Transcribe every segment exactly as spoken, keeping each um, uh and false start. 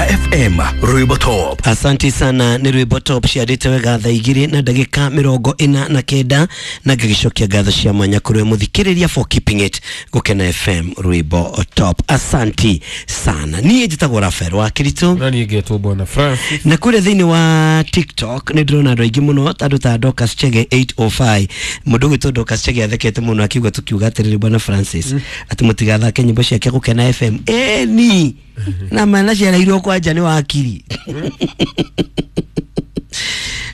F M, Rwimbo Top. Asanti sana, nĩ rwĩmbo top ciarĩte wega thaa igĩrĩ na ndagĩka mĩrongo ĩna na kenda, na ngĩgĩcokia ngatho cia mwanya kũrĩ we mũthikĩrĩria for keeping it Gũkena F M, rwĩmbo top. Asanti sana. Niĩ njĩtagwo Rafael wa Kĩritũ. Na niĩ ngetwo Bwana Francis. Na kũrĩa thĩinĩ wa TikTok nĩ ndĩrona andũ aingĩ mũno, andũ ta Dorcas Chege mĩrongo ĩnana na ithano, mũndũ ũgwĩtwo Dorcas Chege athekete mũno akiuga, tũkiuga atĩrĩrĩ, Bwana Francis, atĩ mũtigathake nyĩmbo ciake Gũkena F M ĩni na mana ciareirwo kwanja nĩ wakiri.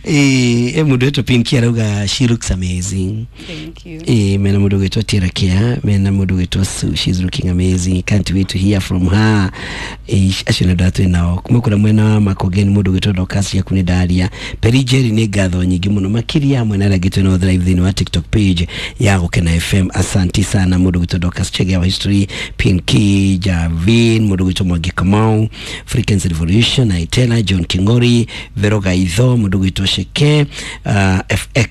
Ĩ mũndũ wĩtwo Pinky arauga, "She looks amazing." Thank you. Eh, mena mũndũ ũgwĩtwo Tiara Kia, mena mũndũ ũgwĩtwo Sue, "She's looking amazing, can't wait to hear from her." Eh, acio nĩ andũ arĩa twĩ nao kuma kũrĩa mwena wa Makongeni. Mũndũ ũgwĩtwo Dorcas ciaku nĩ ndaria Peri Jerry, nĩ ngatho nyingĩ mũno makĩria hamwe na arĩa angĩ twĩ nao live thĩinĩ wa TikTok page ya Gũkena F M. Asanti sana. Mũndũ ũgwĩtwo Dorcas Chege wa History, Pinky Javin, mũndũ ũgwĩtwo Mwangi Kamau, Frequency Revolution, Aitela John Kingori, Vero Gaitho, mũndũ ũgwĩtwo Sheke, uh, F X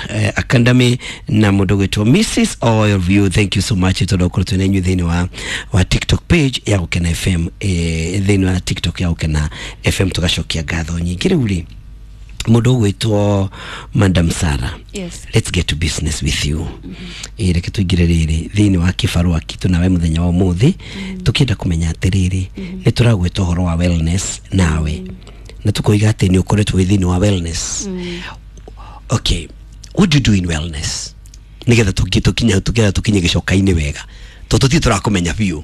uh, Academy na mũndũ ũgwĩtwo Missus All of you, thank you so much tondũ ũkorwo twĩ na inyuĩ thĩinĩ wa, wa TikTok page ya Gũkena F M, eh, thĩinĩ wa TikTok ya Gũkena F M. Tũgacokia ngatho nyingĩ. Rĩu rĩ, mũndũ ũgwĩtwo Madam Sarah, Yes. let's get to business with you. mm-hmm. Reke tũingĩre rĩrĩ thĩinĩ wa kĩbarũa kitũ nawe mũthenya wa ũmũthĩ, tũkĩenda kũmenya atĩrĩrĩ, nĩ tũragwĩta ũhoro wa wellness nawe, na tũkoiga atĩ nĩ ũkoretwo wĩ thĩinĩ wa wellness. Okay, what do you do in wellness, nĩgetha tũki- tũkinye tũkinye tũkinye gĩcoka-inĩ wega, tondũ tũtirĩ tũrakũmenya biũ,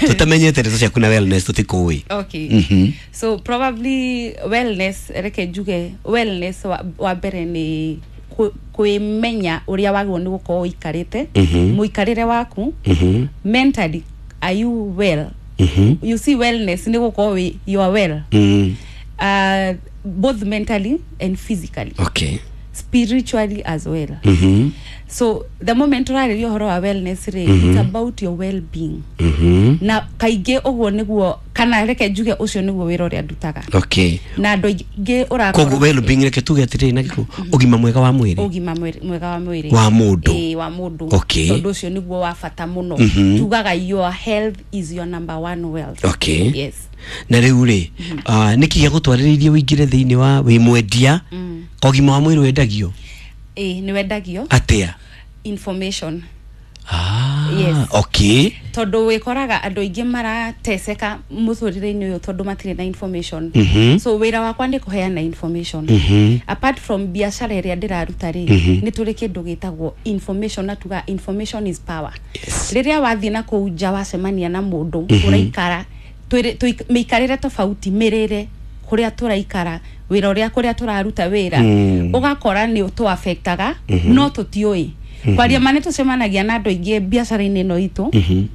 tũtamenyete ndeto ciaku na wellness tũtikũĩ? Okay. Mhm. So probably wellness, reke njuge wellness wa, wa mbere nĩ kũ- kwĩmenya ũrĩa wagĩrĩirwo nĩ gũkorwo ũikarĩte, Mhm. mũikarĩre waku Mhm. mentally. Are you well? Mhm. You see, wellness nĩ gũkorwo wĩ, you are well, Mm. uh, both mentally and physically, okay spiritually as well. Mhm. So the moment ũrarĩria ũhoro wa wellness rĩ, it's about your well being. Mhm. Na kaingĩ ũguo nĩguo, kana reke njuge ũcio nĩguo wĩra ũrĩa ndutaga okay na andũ aingĩ ũrakora. Koguo well being, reke tuge atĩrĩrĩ na gĩkũ, ũgima mwega wa mwĩrĩ. Ũgima mwĩrĩ- mwega wa mwĩrĩ. Wa mũndũ. Ĩĩ, wa mũndũ. Okay. Tondũ ũcio nĩguo wa bata mũno. Mhm. Tugaga your health is your number one wealth. Okay. Yes. Na rĩu rĩ, ah, nĩkĩ gĩagũtwarĩrĩirie ũingĩre thĩinĩ wa wĩ mwendia? Ũgima wa mwĩrĩ wendagio? Ĩĩ, nĩ wendagio. Atĩa? Information. Ah, Yes. okay Tondũ wĩkoraga andũ aingĩ marateseka mũtũrĩre-inĩ ũyũ tondũ matirĩ na information. Mhm. So wĩra wakwa nĩ kũheana information. Mhm. Apart from biacara ĩrĩa ndĩraruta rĩ, Mhm. nĩ tũrĩ kĩndũ gĩtagwo information, na tuga information is power. Yes. Rĩrĩa wathiĩ na kũu nja wacemania na mũndũ ũraikara twĩrĩ- tũik- mĩikarĩre tofauti, mĩrĩre, kũrĩa tũraikara, wĩra ũrĩa, kũrĩa tũraruta wĩra, Mm. ũgakora nĩ tũafektaga no tũtiũĩ kwaria ma. Nĩ tũcemanagia na andũ aingĩ biacara-inĩ ĩno itũ. Mhm.